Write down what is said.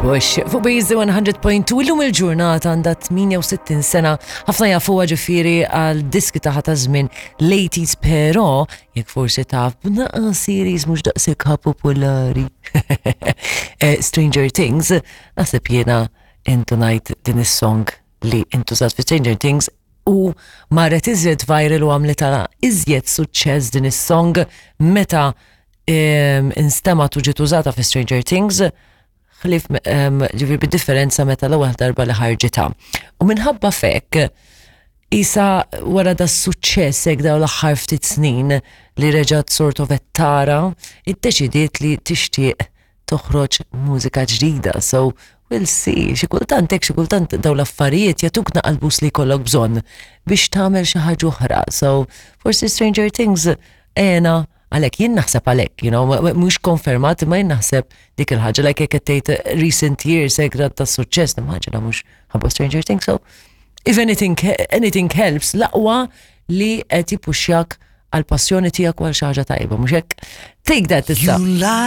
Bush. Fuq Bizi 100.2 illum il-ġurnata għandha 68 sena. Ħafna jafuha ġifieri għal diski taħ ta' żmien l-80s però jekk forsi taf b'naqa series mhux daqshekk popolari. Eh, Stranger Things, naħseb jiena intunajt din is-song li intużat fi Stranger Things u marret iżjed viral u għamlitha iżjed suċċess din is-song meta instemgħet u ġiet użata fi Stranger Things ħlif ġifieri bid-differenza meta l-ewwel darba li ħarġitha. U minħabba fek isa wara da suċċess hekk daw l-aħħar ftit snin li reġgħet sort of tara, iddeċidiet li tixtieq toħroġ mużika ġdida. So we'll see. Xi kultant hekk xi kultant daw l-affarijiet jagħtuk naqal boost li jkollok bżonn biex tagħmel xi ħaġa oħra. So forsi Stranger Things għena għalhekk jien naħseb għalhekk, mhux konfermat imma jien naħseb dik il-ħaġa like jekk qed tgħid recent years hekk ta' suċċess nimmaġina mhux ħabba Stranger Things. So if anything helps, l-aqwa li qed jippuxxjak għal passjoni tiegħek u għal xi ħaġa tajba, mhux hekk? Take that issa.